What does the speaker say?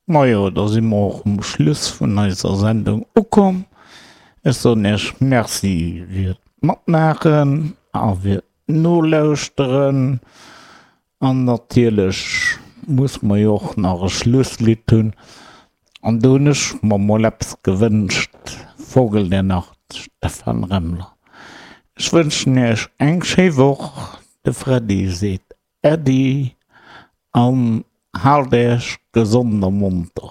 Majo, da si mer och um Schluss vun eiser Sendung ukomm. Ech soen Iech Merci fir d'Matmaachen a fir d'Nolauschteren. An natierlech muss mer jo och nach e Schlusslidd hunn. An do hunn ech mer mol eppes gewënscht, Vogel der Nacht, Stephan Remmler. Ech wënschen Iech eng schéi Woch. De Freddy seet Äddi an haalt Äech gesond a monter.